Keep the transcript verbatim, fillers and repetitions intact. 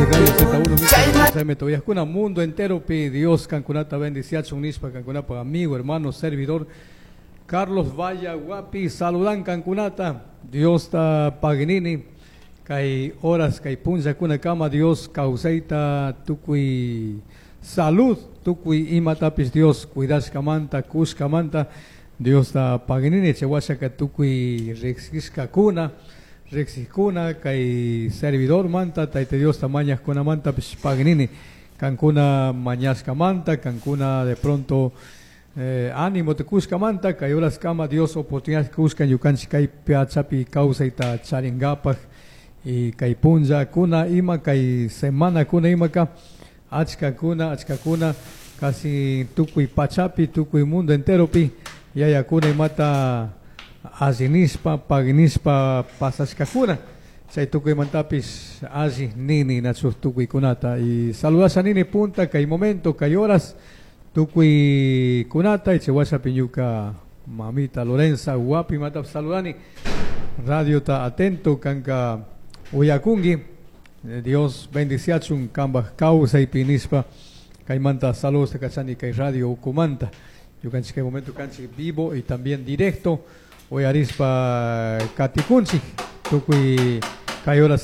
Tukuy Radio Z uno Toyajkuna mundo entero pi Dios kankunata bendiciachun nishpa kankunapa amigo, hermano, servidor Carlos Valla Guapi saludan kankunata. Dios ta paginini kay horas kay punllakuna kama Dios kawsayta tukuy salud tukuy imatapis Dios cuidashkamanta kushkamanta Dios ta paginini chawashaka tukuy riqsishkakuna riqsikuna kay servidor manta Tayta Dios ta mañajkunamanta pis paginini kankuna mañashkamanta kankuna de pronto eh, ánimo te kushkamanta kay horas kama Dios oportunidad kushkan ñukanchik kay pachapi kawsayta charingapaj y kay punlla kuna ima kay semana kuna imaka achka kuna achka kuna casi tukuy pachapi tukuy mundo enteropi yayakuna imata allinispa paginispa pasashkakuna chay tukuymantapis alli nini nachu tukuykunata y saludasha nini punta kay momento kay horas tukuykunata y chay washapi ñuka mamita Lorenza Guapi matap saludani radio ta atento kanka uyakungi. Dios bendiciachun kambaj kawsaypi nispa kaymanta saludos kachani kay radio ukumanta ñukanchik kay momento kanchik vivo y también directo uyarispa katikunchik tukuy kay horas.